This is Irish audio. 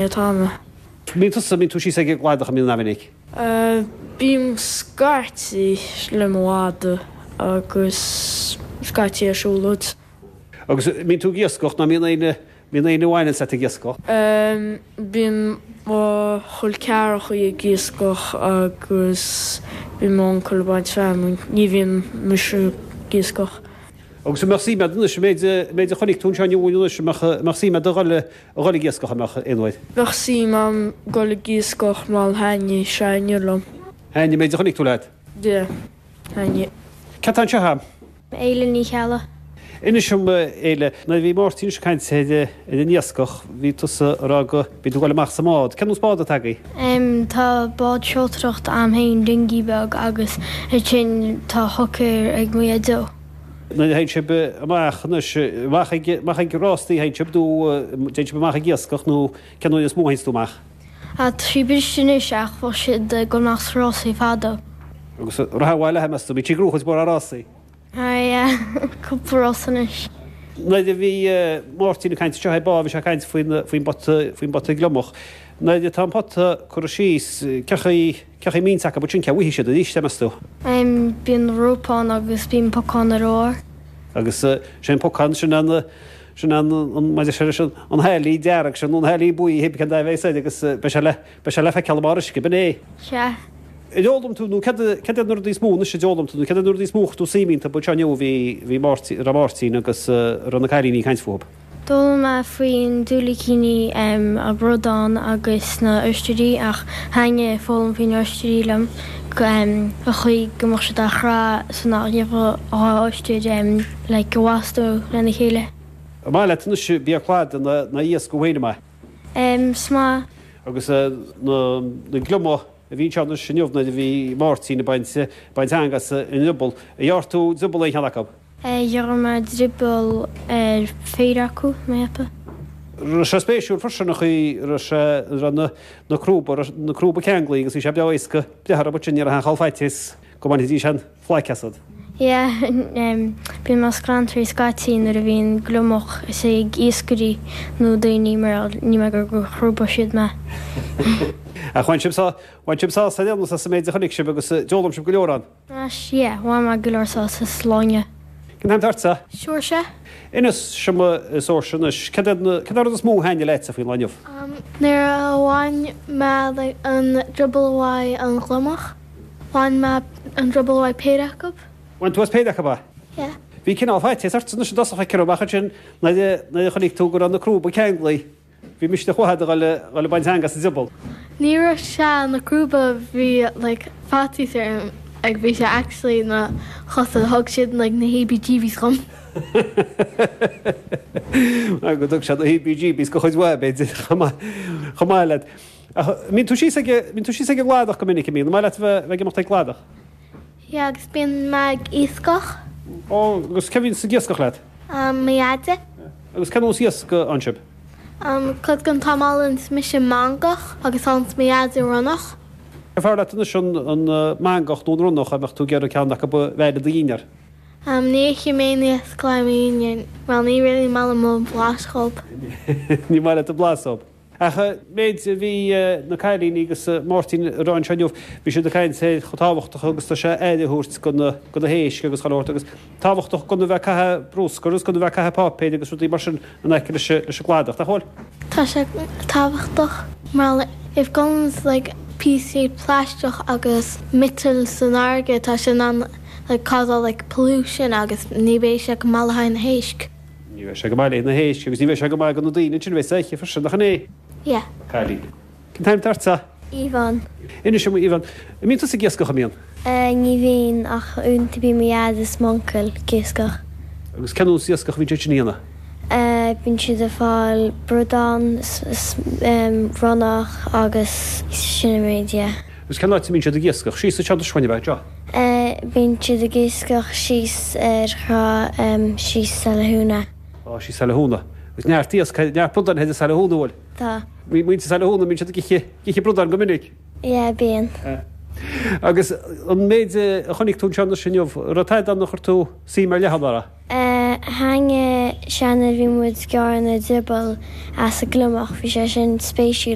Atá mé. Mbíonn tusa, mbíonn tú síos ag an gcladach, an mbíonn, an-mhinic? Bím scaití le mo mhadadh agus scaití ar siúlóid. Agus mbíonn tú ag iascach nó mbíonn éinne, mbíonn éinne a bhaineanns leat ag iascach? Bíonn mo chol ceathrachaí ag iascach agus bíonn m'uncail ag baint feamainn. Ní bhíonn mise ag iascach. Agus an mbeadh suim agat anois, an méid, an méid a chonaic tú anseo inniu anois, an mbeadh, an mbeadh suim agat a dhul, a dhul ag iascach, an mbeadh, aon uair? Bheadh suim a'm dul ag iascach mar thaitnigh sé inniu liom. Thaitnigh an méid a chonaic tú leat? Yeah, thaitnigh. Cé atá anseo a'm? Éile Ní Cheallaigh. Inis dom, a Éile, nuair a bhí Máirtín ag caint ar, ar an iascach, bhí tusa ag rá go mbíonn tú ag dul amach sa mbád. Cén nós bád atá agaibh? Em, tá bád seoltóireachta a'm féin, dinghy beag, agus ansin tá hooker ag mo dhaideo. Nuair a théann sibh amach anois, amach ag, amach ag rástaí a théann sibh nó téann sibh amach ag iascach nó cén uair is mó a théanns tú amach? Ah, tá sí briste anois ach bheadh siad ag dul amach sna rásaí fadó. Agus raibh mhaith leat, meas tú, bhí sí ag gnóthú mórán rásaí? Ah yeah, cúpla rás anois. Nuair a bhí Máirtín ag caint anseo ar ball, bhí sé ag caint faoin, faoin bpota, faoin bpota gliomach. Nuair atá an pota curtha síos, cén chaoi, Cén chaoi a mbíonns acu ansin, cé bhfaighidh siad arís é, meas tú? Em, bíonn rópa ann agus bíonn pocán ar a bharr. Agus sé an pocán, sin an, sin an, an, maidir sé leis an, an hailí dearg sin nó an hailí buí, pé cén dath a bheas air agus beidh sé le, beidh sé le feiceáil i mbarr uisce, b'in é. Sea. Ar fhoghlaim tú, nó céard, céard iad na rudaí is mó anois a d'fhoghlaim tú, nó céard iad na rudaí is mó a chuir tú suim iontu anseo inniu a bhí, bhí Máirtín, a raibh Máirtín agus a raibh na cailíní ag caint fúthu? D'fhoghlaim mé faoin diúilicíní, an bradán agus na oistrí ach thaitnigh foghlaim faoi na oistrí liom an chaoi go mbeadh siad á chrá so nach ndéanfadh dhá oistir like a bhastú lena chéile. An maith leat anois bia cladaigh ná iasc thú féin, an maith? Is maith. Agus na gliomaigh a bhí anseo anois inniu nuair a bhí Máirtín ag baint baint eangaí as an drioball, ar ghearr tú drioball aon cheann acu? Ghearr mé drioball ar phéire acu, mé ag ceapadh. Raibh sé spéisiúil freisin an chaoi a raibh sé, a raibh na, na crúba, raibh na crúba ceanglaithe agus bhí sé breá éasca breith orthu ansin, ní raibh aon chall faitíos go mbainfidís an phlaic asat. Yeah, bíonn mé ag scrantraí scaití nuair a bhíonn gliomach is ag iascairí nó daoine mar níl mé ag iarraidh go chrúbfadh siad mé. Ach bhain sibh, bhain sibh sásamh ar aon nós as an méid a chonaic sibh agus d'fhoghlaim sibh go leor ann. Anois, yeah, bhain mé go leor sásamh as lá inniu. Cén t-ainm atá ortsa? Saoirse. Inis dom a Saoirse anois, céard é an, céard é an rud is mó a thaitnigh leatsa faoin lá inniu? Nuair a bhain mé like an drioball uaidh an gliomach, bhain mé an drioball uaidh péire acu. Bhain tú as péire acu, a? Yeah. Bhí cineál faitíos ort anois i dtosach feictear dom ach ansin nuair a, nuair a chonaic tú go raibh na crúba ceanglaithe, Bhí misneach uait a dhul a baint eangaí as an drioball. Ní raibh sé na crúba bhí like faitíos orm like bhí sé actually na chosa thug siad like na heebie jeebies dhom. Go dtug siad na heebie jeebies go chuid mhaith b'fhéidir chomh maith chomh maith leat. Ach mbíonn tú síos ag mbíonn tú síos ag an gcladach go minic an mbíonn? An maith leat a bheith ag imeacht ag cladach? Yeah agus bíonn mé ag iascach. Ó agus cé bhíonns ag iascach leat? Mo dhaide. Agus cén nós iasc a fhaigheann sibh? Cuid den t-am fhaigheanns mise mangach agus faigheanns mo dhaide ronnach. Cé fearr leat anois an mangach nó an ronnach dá mbeadh tú ag iarraidh ceann acu a bheith i do dhinnéar? Ní ithim aon iasc le mo dhinnéar, well ní really maith liom an blas dhób. Ní maith leat an blas dhób. Ach an méid a bhí na cailíní agus Máirtín ag rá anseo inniu, bhí siad ag caint ar chomh tábhachtach agus tá sé aire a thabhairt do na, do na héisc agus chuile shórt agus tábhachtach gan a bheith ag caitheamh bruscar agus gan a bheith ag caitheamh páipéir agus rudaí mar sin in aice leis, leis an gcladach, nach bhfuil? Tá sé tábhachtach mar if goes like píosaí plaisteach agus miotail san fharraige tá sé in ann like causeáil like pollution agus ní bheidh sé go maith le haghaidh na héisc. Ní bheidh sé go maith le na héisc agus ní bheidh sé go maith do na daoine ansin a bheidh sa oíche freisin, nach in é? Yeah. Cailín. Cén t-ainm atá ortsa? Yvonne. Inis dom, Yvonne, an mbíonn tusa ag iascach, an mbíonn? Ní bhíonn, ach uaireanta bíonn mo dhaid is m'uncail ag iascach. Agus cén nós iascach a bhíonn siad sin a dhéanamh? Bíonn siad ag fáil bradán is ronnach agus sin an méid, yeah. Agus cén áit a mbíonn siad ag iascach? Síos anseo anois chugainn, ab ea? Bíonn siad ag iascach síos ar thrá síos Saile Thúna. Á, síos Saile Thúna. Agus neart iasc, neart bradáin thoir i Saile Thúna, an bhfuil? Tá. Muintir Saile Thúna, mbíonn siad ag ithe, ag ithe bradáin go minic? Yeah, bíonn. Agus an méid a chonaic tú anseo anois inniu, raibh tada ann a chuir tú suim ar leith ann, a raibh? Thaitnigh sé nuair a bhí muid ag gearradh na drioball as an gliomach, bhí sé sin spéisiúil.